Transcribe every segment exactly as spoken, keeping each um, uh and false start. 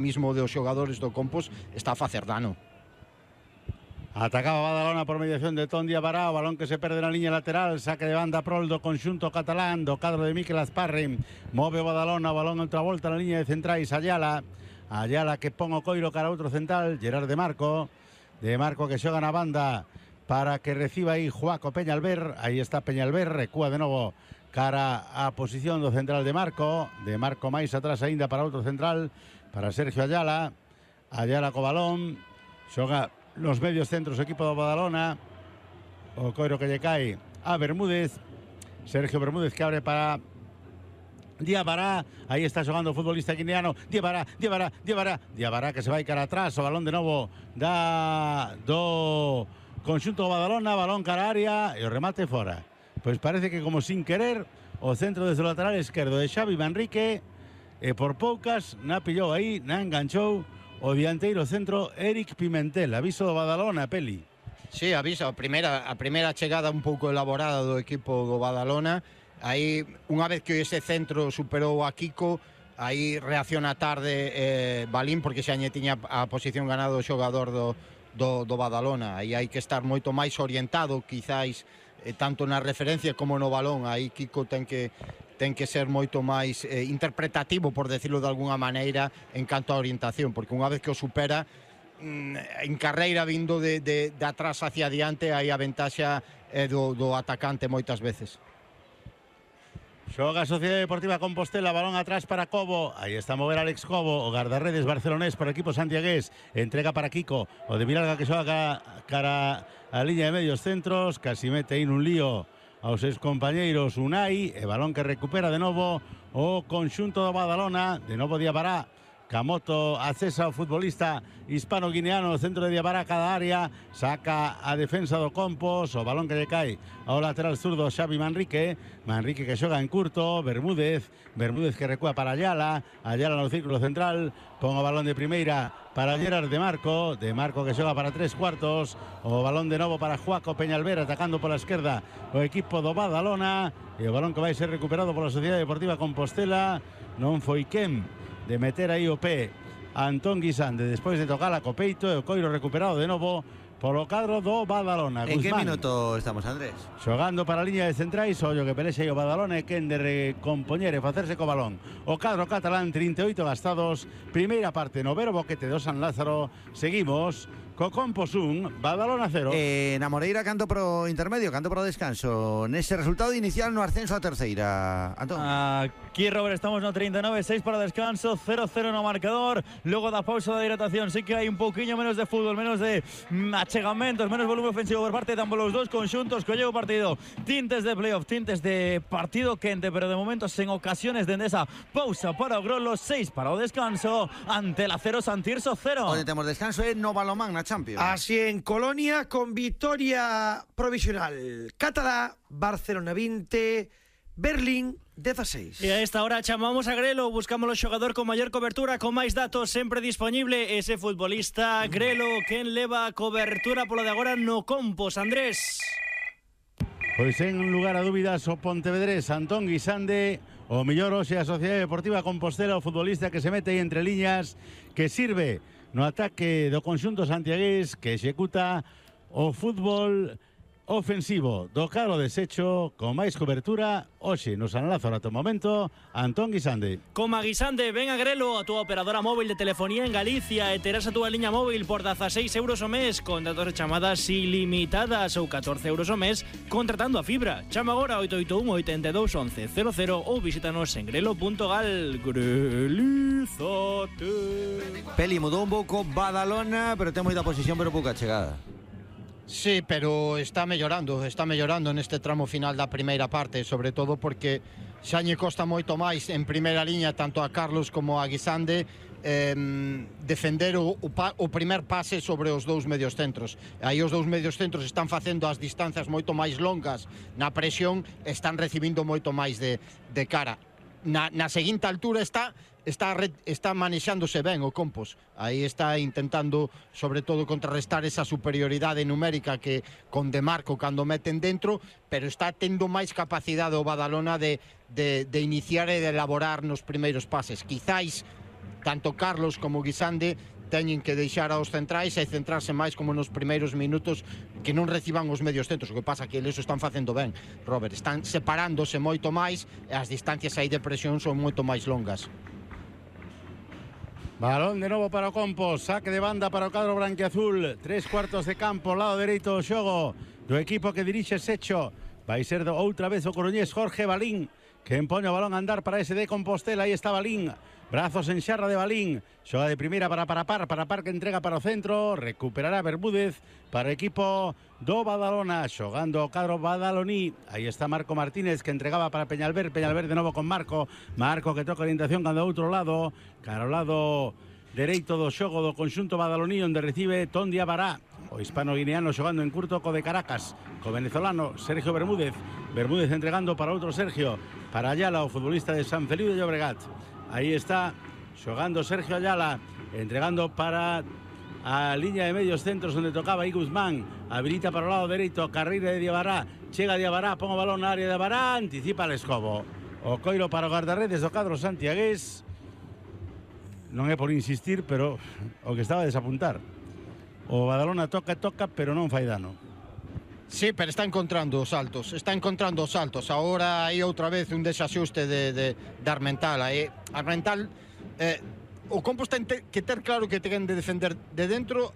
mismo dos xogadores do Compos está a facer dano. Atacaba Badalona por mediación de Ton Diabará, o balón que se perde na liña lateral, saque de banda prol do conxunto catalán, do cadro de Mikel Azparri, move Badalona, o balón outra volta na liña de centrais, Ayala, Ayala que pon o coiro cara a outro central, Gerard de Marco, de Marco que xoga na banda para que reciba aí Juaco Peñalver, aí está Peñalver, recúa de novo cara a posición do central de Marco, de Marco máis atrás aínda para outro central, para Sergio Ayala, Ayala co balón, xoga los medios centros equipo do Badalona, o coiro que lle cae a Bermúdez, Sergio Bermúdez que abre para Diabará, aí está xogando o futbolista guineano, Diabará, Diabará, Diabará, Diabará que se vai cara atrás, o balón de novo da do conxunto do Badalona, balón cara a área e o remate fora. Pois parece que como sin querer o centro desde o lateral esquerdo de Xavi Manrique e por poucas na pillou aí, na enganchou o dianteiro centro Eric Pimentel. Aviso do Badalona, Peli. Sí, aviso, a primeira, a primeira chegada un pouco elaborada do equipo do Badalona. Aí, unha vez que ese centro superou a Kiko, aí reacciona tarde eh, Balín, porque xa lle tiña a posición ganado o xogador do, do, do Badalona. Aí hai que estar moito máis orientado, quizáis, eh, tanto na referencia como no balón. Aí Kiko ten que ten que ser moito máis eh, interpretativo, por decirlo de alguna maneira, en canto a orientación, porque unha vez que o supera mm, en carreira vindo de, de, de atrás hacia adiante, aí a ventaxa é do, do atacante moitas veces. Xoga a Sociedade Deportiva Compostela, balón atrás para Cobo, aí está a mover Alex Cobo, o guardarredes barcelonés para o equipo santiagués, entrega para Kiko, o de Vilalga que xoga cara, cara a liña de medios centros, casi mete aí nun lío aos seus compañeiros Unai, e balón que recupera de novo o conxunto do Badalona, de novo Diabará, Camoto acesa o futbolista hispano-guineano, centro de Diabará cada área, saca a defensa do Compos, o balón que lle cae ao lateral zurdo Xavi Manrique, Manrique que xoga en curto, Bermúdez, Bermúdez que recúa para Ayala, Ayala no círculo central, pon o balón de primeira para Gerard de Marco, de Marco que xoga para tres cuartos, o balón de novo para Juaco Peñalver, atacando pola esquerda o equipo do Badalona, e o balón que vai ser recuperado pola Sociedade Deportiva Compostela, non foi quen de meter aí o pé Antón Guisande despois de tocar a copeito, e o coiro recuperado de novo polo cadro do Badalona. En Guzmán, que minuto estamos, Andrés? xogando para a liña de centrais, ollo que pelexa aí o Badalona e quen de recompoñer e facerse co balón. O cadro catalán, trinta e oito gastados, primeira parte no Vero Boquete do San Lázaro. Seguimos co Compos un, Badalona cero. Eh, na Moreira canto pro intermedio, canto pro descanso. Nese resultado inicial no ascenso a terceira. Antón. Aquí, Robert, estamos no treinta e nove, seis para o descanso, cero cero no marcador. Logo da pausa da hidratación, sí que hai un pouquiño menos de fútbol, menos de achegamentos, menos volumen ofensivo por parte de ambos os dous conxuntos. Colleu o partido, tintes de playoff, tintes de partido quente, pero de momento sen ocasiones dende esa pausa para o Grolo, seis para o descanso, ante la cero Santirso cero. Onde temos descanso é no Balomán na Champions. Así en Colonia, con victoria provisional catalá, Barcelona veinte, Berlín dieciséis. E a esta hora chamamos a Grelo, buscamos o xogador con maior cobertura, con máis datos sempre disponible, ese futbolista Grelo, quen leva a cobertura polo de agora no Compos, Andrés. Pois en lugar a dúbidas o pontevedrés Antón Guisande, o mellor hoxe a Sociedade Deportiva Compostela, o futbolista que se mete aí entre liñas, que sirve no ataque do conxunto santiagués, que executa o fútbol ofensivo do cadro deshecho con máis cobertura hoxe no San Lázaro ata o momento, Antón Guisande. Coma Guisande, ven a Grelo, a túa operadora móvil de telefonía en Galicia, e terás a túa liña móvil por dezaseis euros o mes, con datos de chamadas ilimitadas, ou catorce euros o mes contratando a fibra. Chama agora oito oito un, oito dous, once, cero cero ou visítanos en grelo punto gal. Grelizate. Peli mudou un pouco Badalona, pero ten moita posición, pero pouca chegada. Sí, pero está mellorando, está mellorando neste tramo final da primeira parte, sobre todo porque xa lle costa moito máis en primeira liña, tanto a Carlos como a Guisande, eh, defender o, o, o primer pase sobre os dous medios centros. Aí os dous medios centros están facendo as distancias moito máis longas na presión, están recibindo moito máis de, de cara. Na, na seguinte altura está está está manexándose ben o Compos. Aí está intentando sobre todo contrarrestar esa superioridade numérica que con De Marco cando meten dentro, pero está tendo máis capacidade o Badalona de, de, de iniciar e de elaborar nos primeiros pases. Quizáis tanto Carlos como Guisande teñen que deixar aos centrais e centrarse máis como nos primeiros minutos, que non reciban os medios centros. O que pasa que eles están facendo ben, Robert, están separándose moito máis e as distancias aí de presión son moito máis longas. Balón de novo para o Compos, saque de banda para o cadro branquiazul, tres cuartos de campo, lado dereito do xogo do equipo que dirixe Secho. Vai ser do, outra vez o coruñés Jorge Balín, que empoña o balón a andar para ese de Compostela. Aí está Balín, brazos en xarra de Balín, xoga de primeira para Parapar, Parapar que entrega para o centro, recuperará Bermúdez para o equipo do Badalona, xogando o cadro badaloní. Aí está Marco Martínez que entregaba para Peñalver, Peñalver de novo con Marco, Marco que toca orientación cando outro lado, cara ao lado dereito do xogo do conxunto badaloní, onde recibe Tondi Abará, o hispano-guineano xogando en curto co de Caracas, co venezolano Sergio Bermúdez, Bermúdez entregando para outro Sergio, para Ayala, o futbolista de San Feliu de Llobregat. Aí está xogando Sergio Ayala, entregando para a liña de medios centros onde tocaba aí Guzmán, habilita para o lado dereito, carreira de Diabará, chega Diabará, pon o balón na área de Diabará, anticipa el escobo, o coiro para o guardarredes do cadro santiagués. Non é por insistir, pero o que estaba a desapuntar, o Badalona toca, toca, pero non fai dano. Sí, pero está encontrando os saltos, está encontrando os saltos. Ahora hai outra vez un desaxuste de, de, de Armental. Aí, Armental, eh, o Compos ten que ter claro que ten de defender de dentro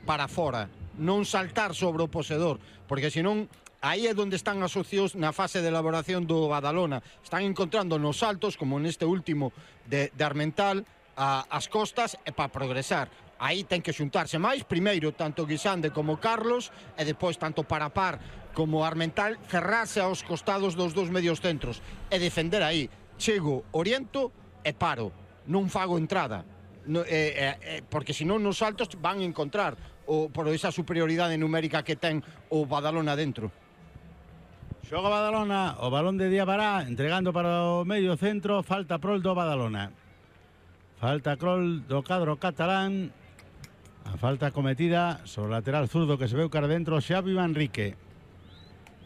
para fora, non saltar sobre o posedor, porque senón aí é onde están as opcións na fase de elaboración do Badalona. Están encontrando nos saltos, como neste último de, de Armental, a, as costas e para progresar. Aí ten que xuntarse máis, primeiro tanto Guisande como Carlos, e depois tanto Parapar como Armental, cerrarse aos costados dos dous medios centros e defender aí. Chego, oriento e paro, non fago entrada, no, eh, eh, porque senón nos saltos van a encontrar o, por esa superioridade numérica que ten o Badalona dentro. Xoga Badalona, o balón de Diabará, entregando para o medio centro, falta prol do Badalona. Falta crol do cadro catalán. A falta cometida sobre o lateral zurdo que se veu cara dentro, Xavi Manrique.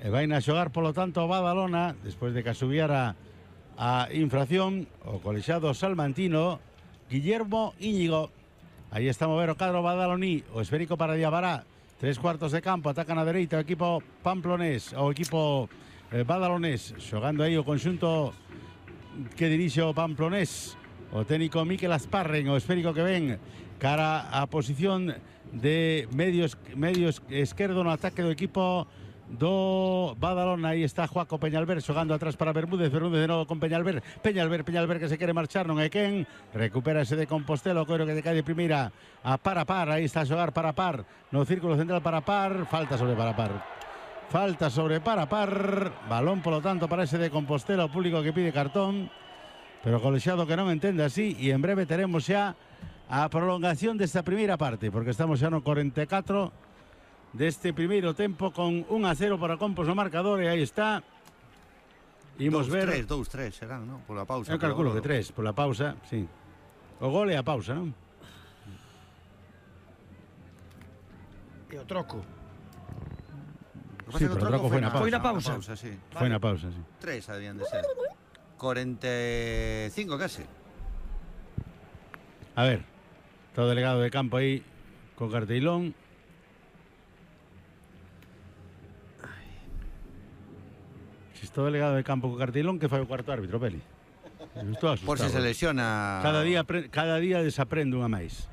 E vai a xogar, polo tanto, o Badalona, despois de que asubiara a infracción, o colexado salmantino, Guillermo Íñigo. Aí está a mover o cadro badaloní, o esférico para Diabará. Tres cuartos de campo, atacan a dereita o equipo pamplonés, o equipo eh, badalonés, xogando aí o conxunto que dirixe o pamplonés. O técnico Miquel Asparren, o esférico que ven cara a posición de medios, medios esquerdo no ataque do equipo do Badalona. Aí está Joaco Peñalver xogando atrás para Bermúdez, Bermúdez de novo con Peñalver, Peñalver, Peñalver que se quere marchar, non é quen, recupera ese de Compostela, o coiro que cae de primeira a Parapar, aí está a xogar Parapar no círculo central Parapar, falta sobre Parapar, falta sobre Parapar, balón polo tanto para ese de Compostela, o público que pide cartón, pero colexiado que non entende así, e en breve teremos xa a prolongación desta primeira parte, porque estamos xa no cuarenta e catro deste primeiro tempo con un a cero para Compos no marcador, e aí está. Imos ver... dous tres serán, non? Pola pausa. Eu calculo que tres, pola pausa, sí. O gol e a pausa, non? E o troco. Sí, pero o troco foi na pausa. Foi na pausa. Sí. Foi na pausa, sí. Tres habían de ser. cuarenta y cinco casi. A ver, está o delegado de campo aí con carteilón. Si está o delegado de campo con carteilón, que fai o cuarto árbitro, Peli? Estou asustado. Por si se lesiona. Cada día, cada día desaprende unha máis.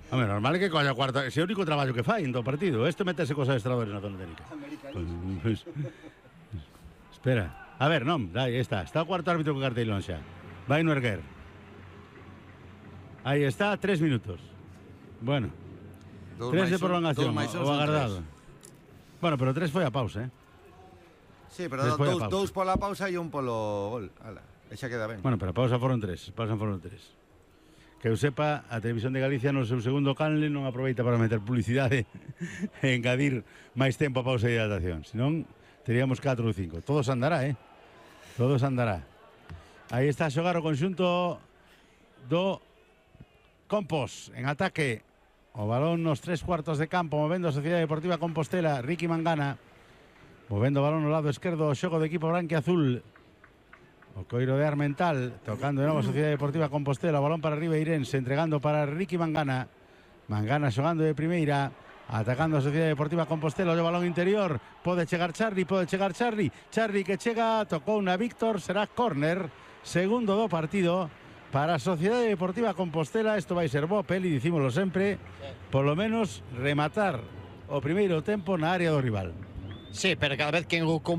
Home, normal é que colla cuarto, ese é o único traballo que fai en todo partido. Este metese cos adestradores na zona técnica. Pues, pues, espera. A ver, non, aí está. Está o cuarto árbitro con carteilón xa. Vai no erguer. Aí está, tres minutos. Bueno. Dos tres de prolongación, o agardado. Tres. Bueno, pero tres foi a pausa, eh? Sí, pero dous, pausa. dous pola pausa e un polo gol. Ala, xa queda ben. Bueno, pero a pausa foron tres. Pausa foron tres. Que eu sepa, a Televisión de Galicia no seu segundo canle non aproveita para meter publicidade e engadir máis tempo a pausa de hidratación. Senón, teríamos catro ou cinco. Todos andará, eh? Todos andará. Aí está a xogar o conxunto do Compos en ataque. O balón nos tres cuartos de campo, movendo a Sociedade Deportiva Compostela, Ricky Mangana. Movendo o balón no lado esquerdo, o xogo do equipo branquiazul. O Coiro de Armental, tocando de novo a Sociedade Deportiva Compostela, o balón para arriba Irense, entregando para Ricky Mangana. Mangana xogando de primeira, atacando a Sociedade Deportiva Compostela, o balón interior, pode chegar Charly, pode chegar Charly, Charly que chega, tocou na Víctor, será córner, segundo do partido para a Sociedade Deportiva Compostela. Isto vai ser bo, Peli, dicímolo sempre, polo menos rematar o primeiro tempo na área do rival. Sí, pero cada vez que en o